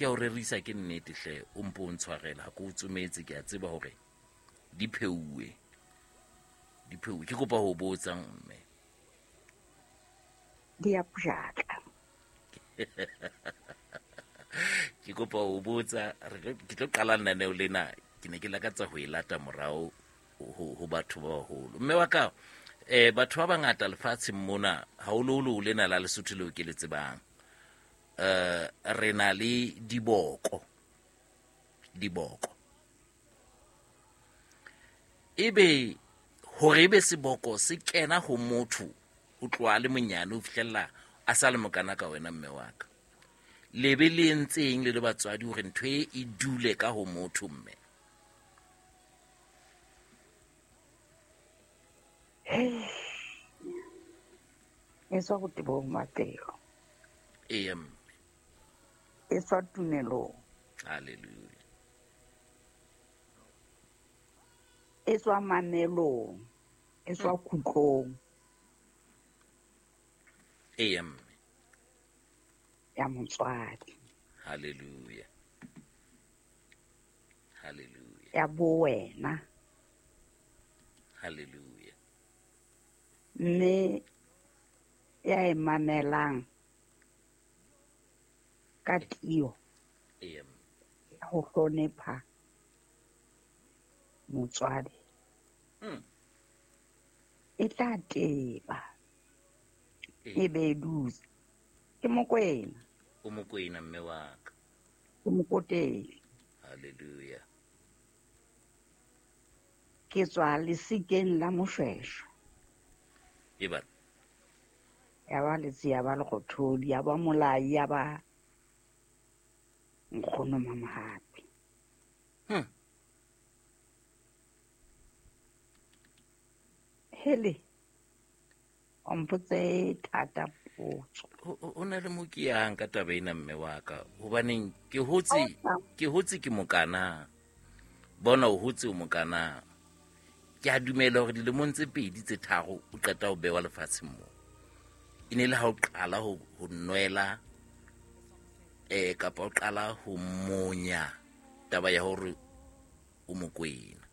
Ke a o rerisa ke nnete hle, o mpo o ntshwarela ha ke o tsometse, ke a tseba hore di pheuwe. Di pheuwe. Ke kopa ho botsa mme. Di a pjatla. Ke kopa ho botsa, ke tlo qala lenaneo lena, ke ne ke lakatsa ho e lata morao ho batho ba baholo. Mme wa ka, batho ba bangata lefatsheng mona, haholoholo lena la Lesotho leo ke le tsebang, re na le diboko. Diboko. Ebe hore ebe seboko se kena ho motho o tloha le monyane ho fihlella a sa le mokana ka wena mme wa ka. Lebe le entseng le le batswadi hore ntho e e dule ka ho motho mme? E tswa botebong ba pelo. Ee, mme. E tswa tumelong. Hallelujah. E tswa mamelong, e tswa kutlong. Ee, mme. Ya motswadi. Hallelujah. Hallelujah. Ya bo wena. Hallelujah. Mme ya e mamelang ka tiyo. Ee, mme. Ya ho hlonepha motswadi. E tla teba. E be e dutse. Ke Mokwena. O Mokwena mme wa ka. Ke Mokoteli. Hallelujah. Ke tswa lesikeng la Moshweshwe. E ba. Ya ba letsi, ya ba lekgothodi, ya ba molai, ya ba nkgono Mamohapi. Hele, o mpotse thata potso. O na le mo ke yang ka taba ena mme wa ka, hobaneng ke hotse, ke hotse ke mokana. Bona o hotse o mokana. Ke a dumela hore dilemong tse pedi tse tharo o qeta ho bewa lefatsheng moo. E ne le ha o qala ho nwela, kapa o qala ho monya taba ya hore o Mokwena.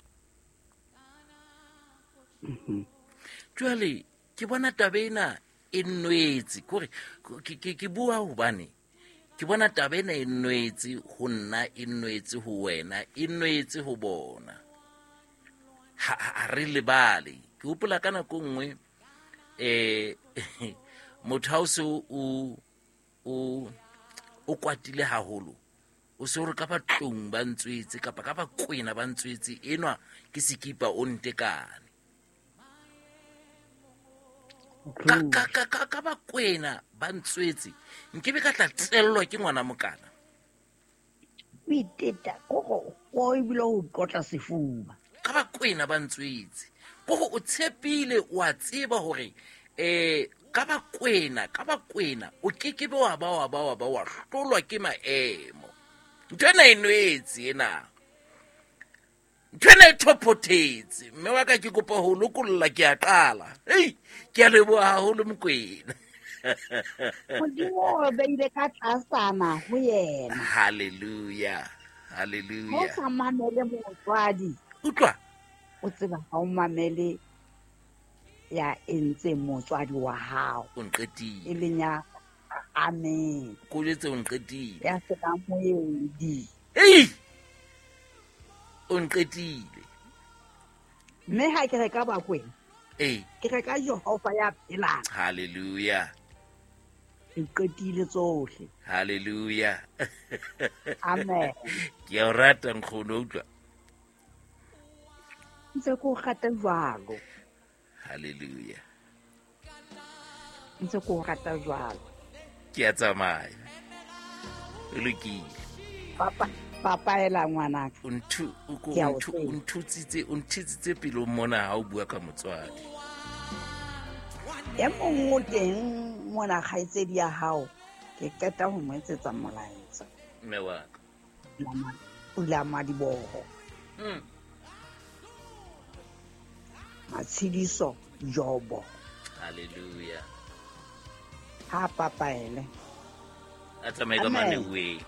Jwale ke bona taba ena e nwetse, kore ke bua hobane ke bona taba ena e nwetse ho nna, e nwetse ho wena, e nwetse ho bona. Ha re lebale. Ke hopola ka nako nngwe, motho ha o se o kwatile haholo, o se o re ka batlong ba ntswetse kapa ka bakwena ba ntswetse, enwa ke sekipa o ntekane. Ka bakwena ba ntswetse, nkebe ka tla tsellwa ke ngwana mokana. O iteta, koko, o ebile o tlotla sefuba. Ka bakwena ba ntswetse. Koko o tshepile, o a tseba hore, ka bakwena, ka bakwena, o kekebe wa ba, wa ba, wa ba, wa hlolwa ke maemo. Ntho ena e nwetse ena. Ntho ena e thophothetse. Mme wa ka ke kopa ho lokolla, ke a qala. Hei, ke a leboha haholo Mokwena. Modimo o beile ka tlasana ho yena. Hallelujah. Hallelujah. Ha o sa mamele motswadi. Utlwa. O tseba ha o mamele ya entseng motswadi wa hao. O nqetile. E leng ya amen. Ko jwetse o nqetile. Ya se ka moedi. Hei! O nqetile. Mme ha ke reka Bakwena. Ee. Ke reka Jehova ya phelang. Hallelujah. Ke qetile tsohle. Hallelujah. Amen. Ke a o rata nkgono, utlwa. Ntse ke o rata jwalo. Hallelujah. Ntse ke o rata jwalo. Ke a tsamaya. O lokile. Papa, papa ela ngwanaka. O nthu, o ko, Ke a o o nthu, tseba. o nthutsitse, o nthitsitse pelong mona ha o bua ka motswadi. E mong o teng mona kgaitsedi ya hao, ke qeta ho mo etsetsa molaetsa. Mme wa ka. Pula madiboho. Matshidiso Jobo. Hallelujah. Ha papaele. A tsamaye ka Amen. maneweng.